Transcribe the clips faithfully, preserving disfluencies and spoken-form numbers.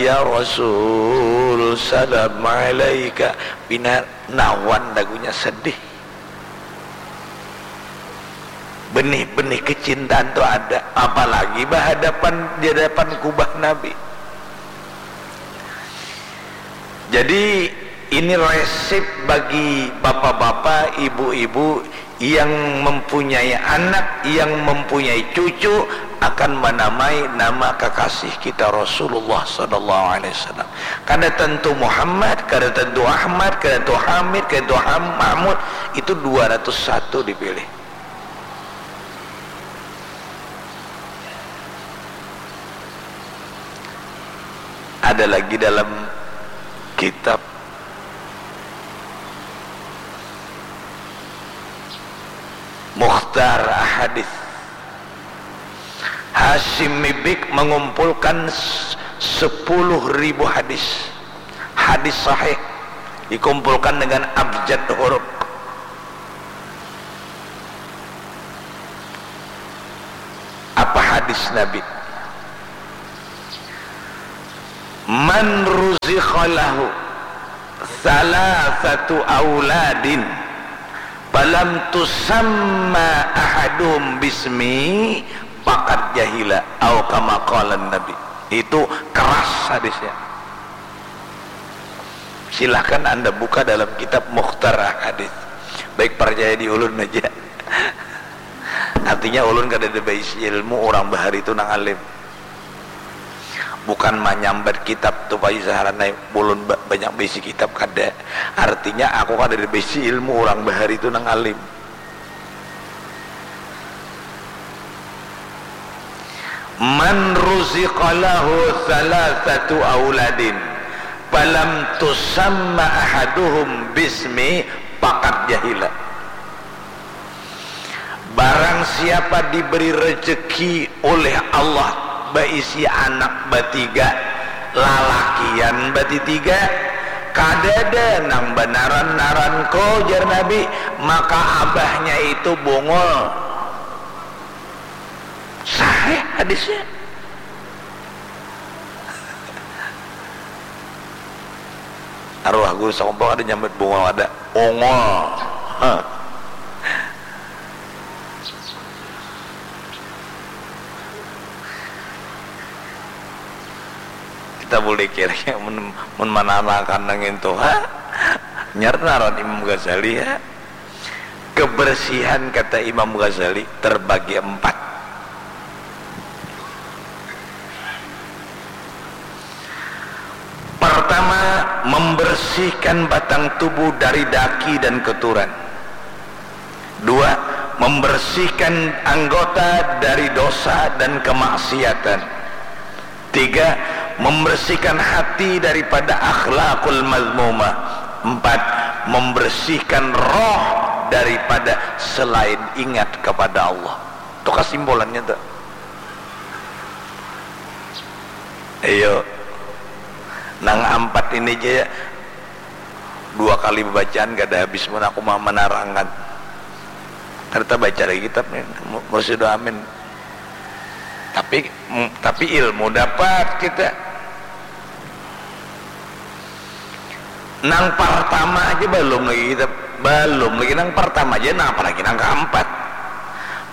Ya Rasul, salam alaika. Pina nawan lagunya sedih. Benih-benih kecintaan tu ada, apalagi bahadapan di hadapan kubah Nabi. Jadi ini resep bagi bapak-bapak, ibu-ibu yang mempunyai anak, yang mempunyai cucu, akan menamai nama kekasih kita Rasulullah sallallahu alaihi wasallam. Kada tentu Muhammad, kada tentu Ahmad, kada tentu Hamid, kada tentu Ham- Mahmud, itu dua ratus satu dipilih. Ada lagi dalam kitab Mukhtar Ahadith. Hasyim Mibik mengumpulkan s- sepuluh ribu hadis. Hadis sahih dikumpulkan dengan abjad huruf. Apa hadis Nabi? Man ruzikha lahu thalathatu auladin falam tusamma ahaduhum bismi faqad jahila, au kama qala Nabi. Itu keras hadisnya. Silahkan Anda buka dalam kitab Mukhtar Hadis. Baik percaya di ulun aja. Artinya ulun kada ada baisi ilmu, orang bahari itu nang alim. Bukan manyambat kitab tu pai saharanai ulun ba- banyak baisi kitab, kada. Artinya aku kada ada baisi ilmu, orang bahari itu nang alim. Man ruziqa lahu thalathatu auladin falam tusamma ahaduhum bismi faqad jahila. Barang siapa diberi rezeki oleh Allah baisi anak batiga, lalakian batitiga, kadada nang banaran-naran ko, jar Nabi, maka abahnya itu bungul. Sahih hadisnya. Arwah guru sakumpul ada nyambat bungul, ada ungul. Hah. Kita boleh kira mun, mun mananakan nang itu, ha? Nyar naran Imam Ghazali, ha? Kebersihan, kata Imam Ghazali, terbagi empat. Pertama, membersihkan batang tubuh dari daki dan kotoran. Dua, membersihkan anggota dari dosa dan kemaksiatan. Tiga, membersihkan hati daripada akhlakul mazmumah. Empat, membersihkan roh daripada selain ingat kepada Allah. Itu kesimpulannya tu. Iyo. Nang ampat ini ja dua kali bacaan kada habis mun aku ma- manarangkan. Kada tabaca lagi kitab ni, Mu- Mursyid Amin. Tapi, mm, tapi ilmu dapat kita. Nang partama aja balum lagi kita, balum lagi nang partama aja, nang apa lagi nang kaampat?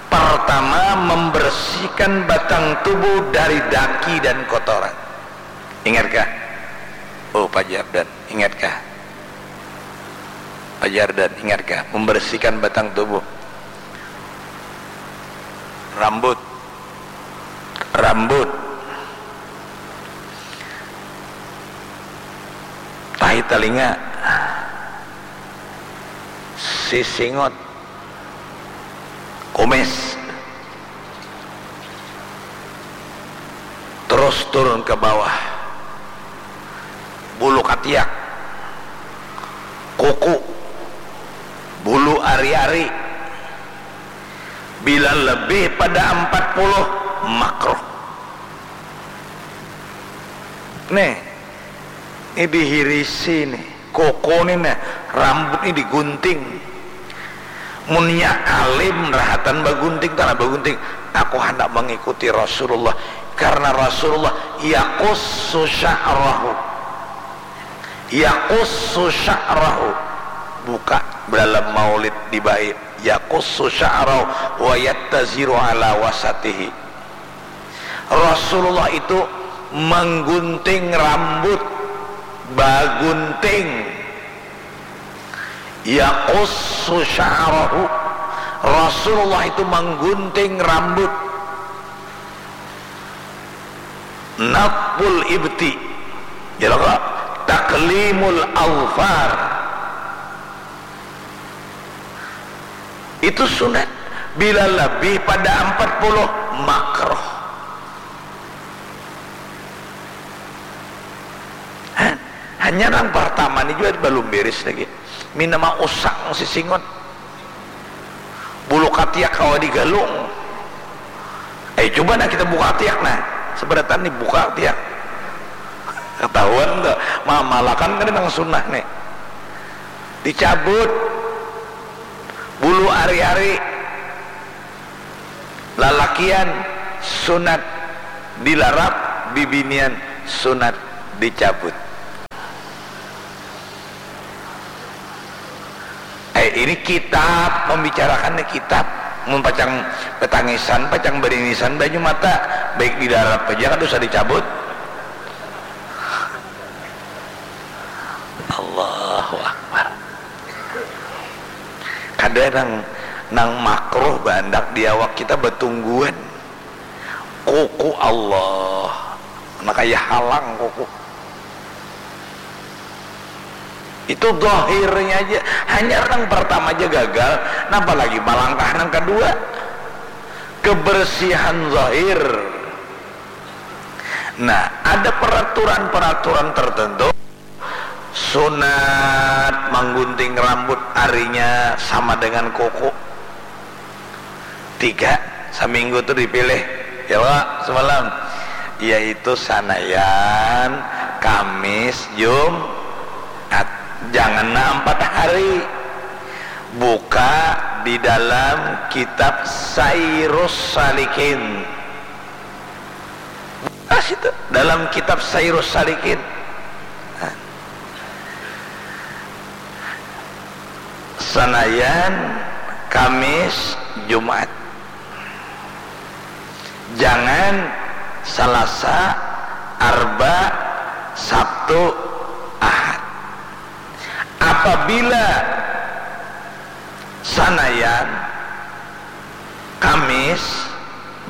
Partama, membersihkan batang tubuh dari daki dan kotoran. Ingatkah? Oh, Pak Jardan, ingatkah? Pak Jardan, ingatkah? Membersihkan batang tubuh. Rambut. Rambut. Tahi talinga. Sisingut. Kumis. Terus turun ke bawah. Bulu katiak. Kuku. Bulu ari-ari. Bila lebih pada empat puluh, makruh. Nih, ini dihirisi nih. Koko ni nah, rambut ni digunting. Munnya alim rahatan bagunting, tanah bagunting. Aku handak mengikuti Rasulullah. Karena Rasulullah yaqussu sya'rahu. Yaqussu sya'rahu. Buka dalam maulid dibai. Yaqussu sya'rahu wa yattaziru ala wasatihi. Rasulullah itu menggunting rambut, bagunting. Yaqussu sya'rahu. Rasulullah itu menggunting rambut. Natful ibti. Jalaka taklimul alfar. Itu sunat. Bila lebih pada empat puluh, makruh. Ha? Hanya nang pertama ni jua balum beres lagi. Mina mausang sisingut. Bulu katiak kawa digalung. Eh, cuba nah kita buka tiak nah. Seberatan ni buka tiak. Ketahuan tuh. Mamalakan kan nang sunnah nih. Dicabut bulu ari-ari. Lalakian sunat dilarap, bibinian sunat dicabut. Eh, ini kitab, membicarakan ni kitab. Mun pacang betangisan, pacang berinisan banyu mata, baik dilarap aja kada usah dicabut. Allahu Akbar. Kada nang, nang makruh baandak di awak kita batungguan. Kuku Allah. Nah, kaya halang kuku. Itu zahirnya aja. Hanya nang pertama aja gagal, nah, apalagi malangkah nang kedua. Kebersihan zahir. Nah, ada peraturan-peraturan tertentu. Sunat manggunting rambut arinya sama dengan kuku. Tiga, saminggu tu dipilih. Ya, Pak, semalam. Yaitu Sanayan, Kamis, Jumat. Jangan na empat hari. Buka di dalam kitab Sairus Salikin. Pas itu dalam kitab Sairus Salikin. Nah. Sanayan, Kamis, Jumat. Jangan Salasa, Arba, Sabtu, Ahad. Apabila Sanayan, Kamis,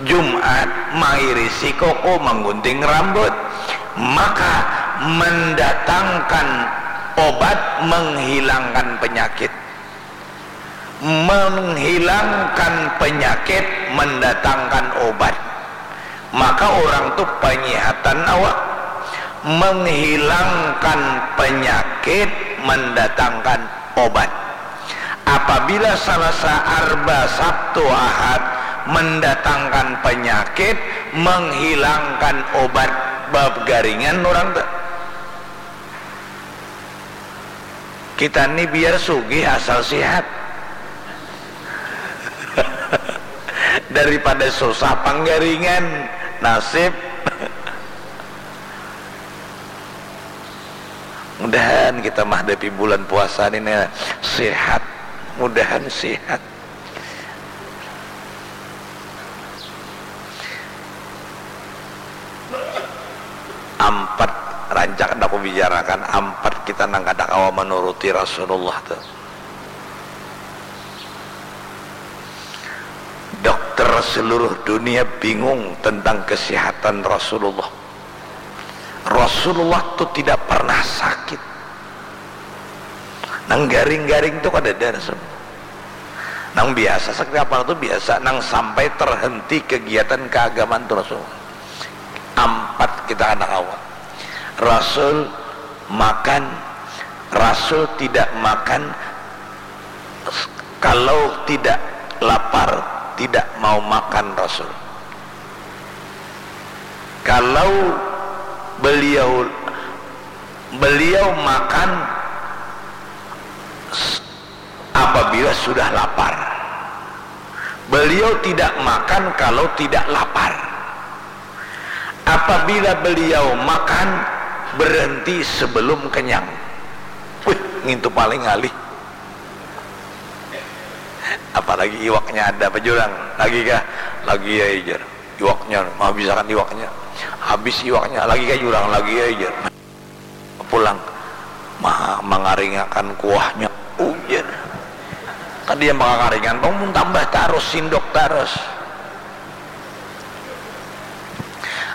Jumat mairisi koko, manggunting rambut, maka mendatangkan obat menghilangkan penyakit. Menghilangkan penyakit mendatangkan obat. Maka orang tu penyihatan awak, menghilangkan penyakit mendatangkan obat. Apabila Salasa, Arba, Sabtu, Ahad mendatangkan penyakit, menghilangkan obat, bab garingan orang tu. Kita ni biar sugih asal sihat. Daripada susah panggaringan, nasib. Mudahan kita mahadapi bulan puasa ni, nah, sihat. Mudahan sihat. Ampat rancak dah aku bicarakan, ampat kita nang kada kawa manuruti Rasulullah tu. Dokter seluruh dunia bingung tentang kesihatan Rasulullah. Rasulullah tu tidak pernah sakit. Nang garing-garing tu kadada Rasul. Nang biasa sakit kapala tu biasa, nang sampai terhenti kegiatan keagamaan tu Rasul. Ampat kita kada kawa. Rasul makan, Rasul tidak makan kalau tidak lapar, tidak mau makan Rasul. Kalau beliau, beliau makan s-, apabila sudah lapar. Beliau tidak makan kalau tidak lapar. Apabila beliau makan, berhenti sebelum kenyang. Wih, ngintu paling ngalih. Apalagi iwaknya ada apa jurang. Lagi kah? Lagi ya, jar. Iwaknya, mah habisakan iwaknya. Habis iwaknya, lagi kah jurang, lagi ya, jar. Pulang, mah mangaringakan kuahnya, ujar. Kan dia mangakaringan, bangun tambah tarus, sindok tarus.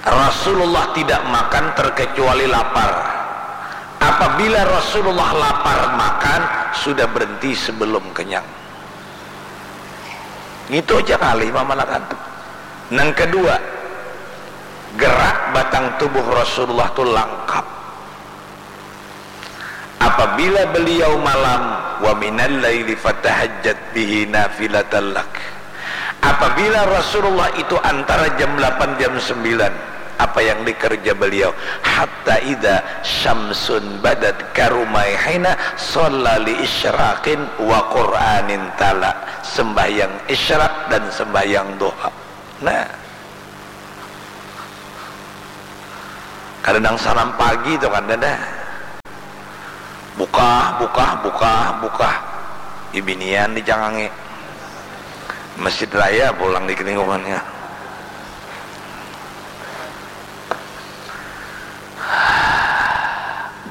Rasulullah tidak makan terkecuali lapar. Apabila Rasulullah lapar makan, sudah berhenti sebelum kenyang. Ngitu aja kali mamanakan. Nang kedua, gerak batang tubuh Rasulullah tu langkap. Apabila beliau malam, wa minal laili fatahajjat bihi nafilatan lak. Apabila Rasulullah itu antara jam delapan, jam sembilan, apa yang dikerja beliau? Hatta idza syamsun badat karumaihina shalla li isyraqin wa Qur'anin tala. Sembahyang isyraq dan sembahyang duha. Nah. Kada nang salam pagi tu kada dah. Bukah, bukah, bukah, bukah. Ibinian dicangangi. Masjid raya pulang di lingkungannya.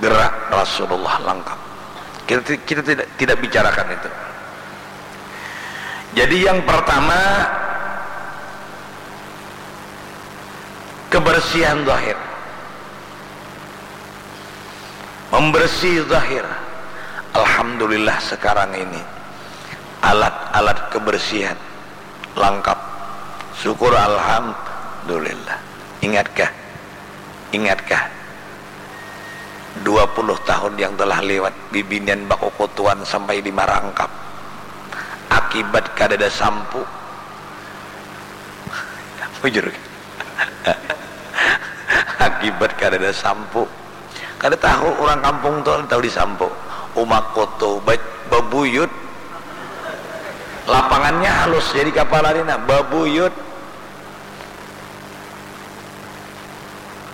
Gerak Rasulullah langkap. Kita, kita tidak, tidak bicarakan itu. Jadi yang pertama, kebersihan zahir. Membersih zahir. Alhamdulillah sekarang ini alat-alat kebersihan langkap. Syukur alhamdulillah. Ingatkah? Ingatkah? Dua puluh tahun yang telah lewat, bibinian bakukutuan sampai di marangkap. Akibat kadada sampu. Bujur. Akibat kadada sampu. Kada tahu urang kampung tu, tahu di sampu. Uma kutu, ba-, babuyut. Lapangannya halus, jadi kapala ni nah, babuyut.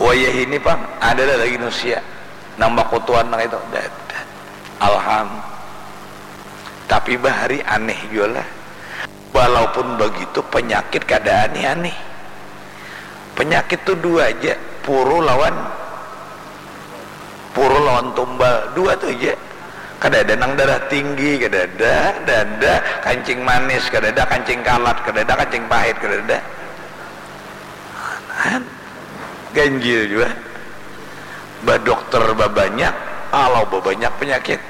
Wayah ini pang, ada dah lagi nusia nang bakutuan nang itu. Dah, dah. Alham. Tapi bahari aneh jua lah. Walaupun begitu, penyakit kada aneh-aneh. Penyakit tu dua aja, puru lawan, puru lawan tumbal, dua tu aja. Kada ada nang darah tinggi, kada ada, kada ada kancing manis, kada ada kancing kalat, kada ada kancing pahit, kada ada. Kan? Ganjil jua. Badokter babanyak, alau babanyak penyakit.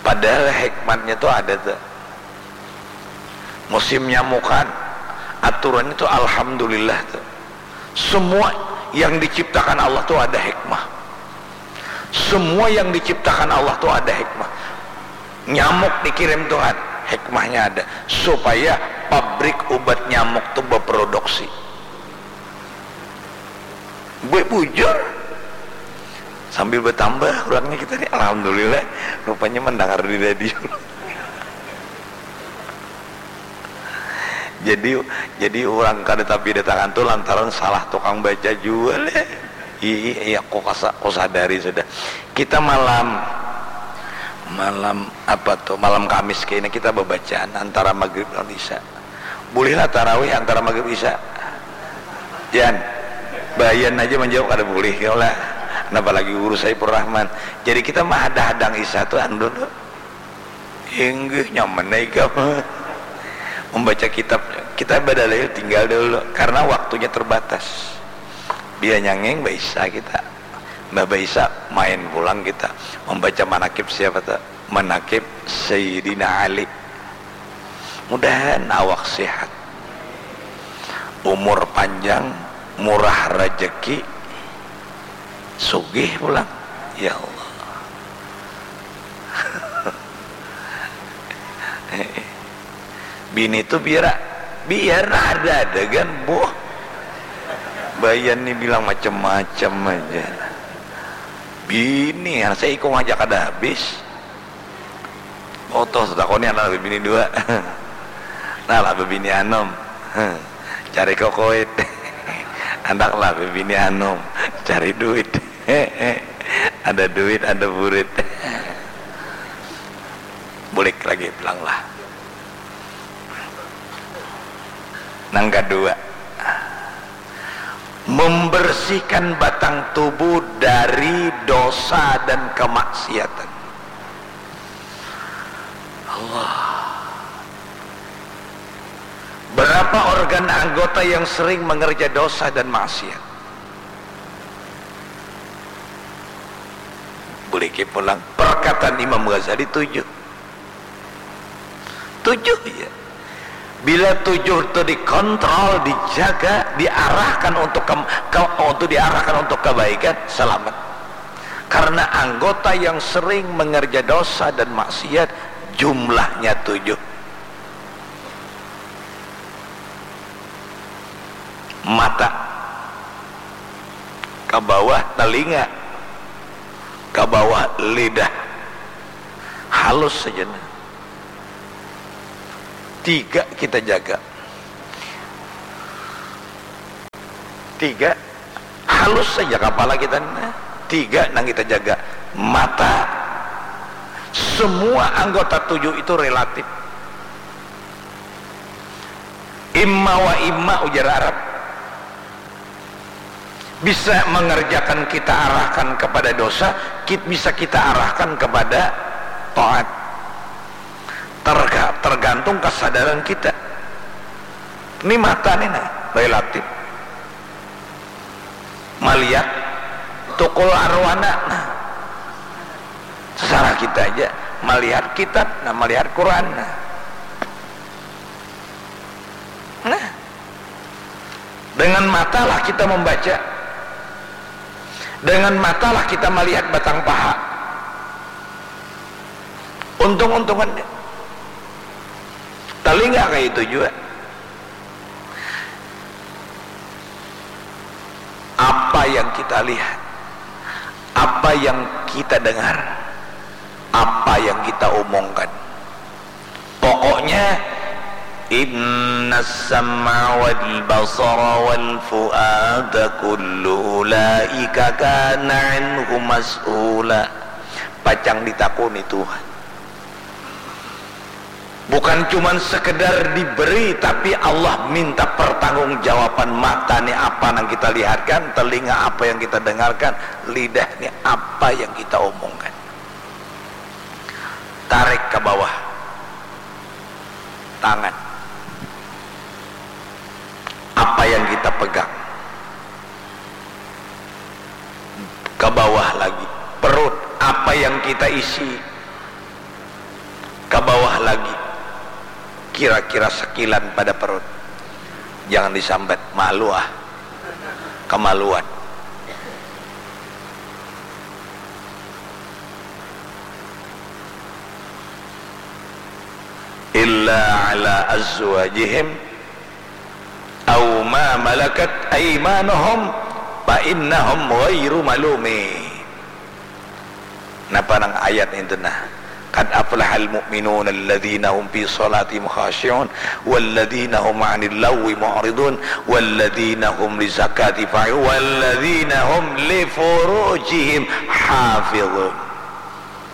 Padahal hikmatnya tu ada tu. Musim nyamukan, aturannya tu alhamdulillah tu. Semua yang diciptakan Allah tu ada hikmah. Semua yang diciptakan Allah tu ada hikmah. Nyamuk dikirim Tuhan, hikmahnya ada. Supaya pabrik ubat nyamuk tu beproduksi. Buat bujur. Sambil bertambah kurangnya kita ni, alhamdulillah, rupanya mendengar di radio. Jadi, jadi urang kada tapi datangan tu lantaran salah tukang baca jua leh. Iya, iya, aku kasa-, aku sadari sudah. Kita malam, malam apa tu, malam Kamis kayaknya kita babacaan antara maghrib lawan isya. Bulihlah tarawih antara maghrib isya. Jan, Bayan aja menjawab kada bulih kau lah. Kenapa lagi guru Saiful Rahman? Jadi kita mah hadang-hadang isya tu anu dulu. Inggih, nyaman ai ikam. Membaca kitab, kita badalil tinggal dulu karena waktunya terbatas. Dia nyanging baisa kita. Mbah baisa main pulang kita membaca manakib siapa tu? Manakib Sayyidina Ali. Mudahan awak sihat, umur panjang, murah rajaki, sugih pulang. Ya Allah. Bini tu biar, biar ada-ada kan, boh. Bayan ni bilang macam-macam aja. Bini, saya ikung aja kada habis. Oh, toh, takoni anak bini dua. Nah lah bebini anom, cari kokoit. Andak lah bebini anom, cari duit. Ada duit, ada burit. Bulik lagi pulang lah. Nang kedua, membersihkan batang tubuh dari dosa dan kemaksiatan. Allah. Berapa organ anggota yang sering mengerja dosa dan maksiat? Buliki pulang perkataan Imam Ghazali tujuh. Tujuh ya. Bila tujuh itu dikontrol, dijaga, diarahkan untuk ke, ke untuk diarahkan untuk kebaikan, selamat. Karena anggota yang sering mengerja dosa dan maksiat jumlahnya tujuh. Mata, ke bawah telinga, ke bawah lidah, halus saja nah. Tiga kita jaga. Tiga, halus saja kepala kita ni. Tiga nang kita jaga. Mata, semua anggota tujuh itu relatif. Imma wa imma ujar Arab. Bisa mengerjakan kita arahkan kepada dosa, kit-, bisa kita arahkan kepada taat. Terga-, tergantung kesadaran kita. Ini mata ni nah, relatif. Melihat tukul arwana nah. Secara kita aja melihat kitab nah, melihat Quran nah. Nah, dengan matalah kita membaca. Dengan matalah kita melihat batang paha. Untung-untungannya. Telinga kayak itu juga. Apa yang kita lihat, apa yang kita dengar, apa yang kita omongkan. Pokoknya, innas sam'a wal basara wal fuada kullu ulaika kana anhu mas'ula. Pacang ditakuni Tuhan. Bukan cuman sekedar diberi, tapi Allah minta pertanggungjawaban. Mata ni apa nang kita lihatkan, telinga apa yang kita dengarkan, lidah ni apa yang kita omongkan. Tarik ke bawah tangan. Apa yang kita pegang? Ke bawah lagi. Perut, apa yang kita isi? Ke bawah lagi. Kira-kira sekilan pada perut. Jangan disambat, malu ah. Kemaluan. Illa ala azwajihim aw ma malakat aymanuhum fa innahum ghairu malumin. Napa nang ayat itu nah? Qad aflahal mu'minun alladzina hum fi salatihim khashi'un walladzina hum 'anil lagwi mu'ridun walladzina hum lizakati fa'i walladzina hum li furujihim hafizun.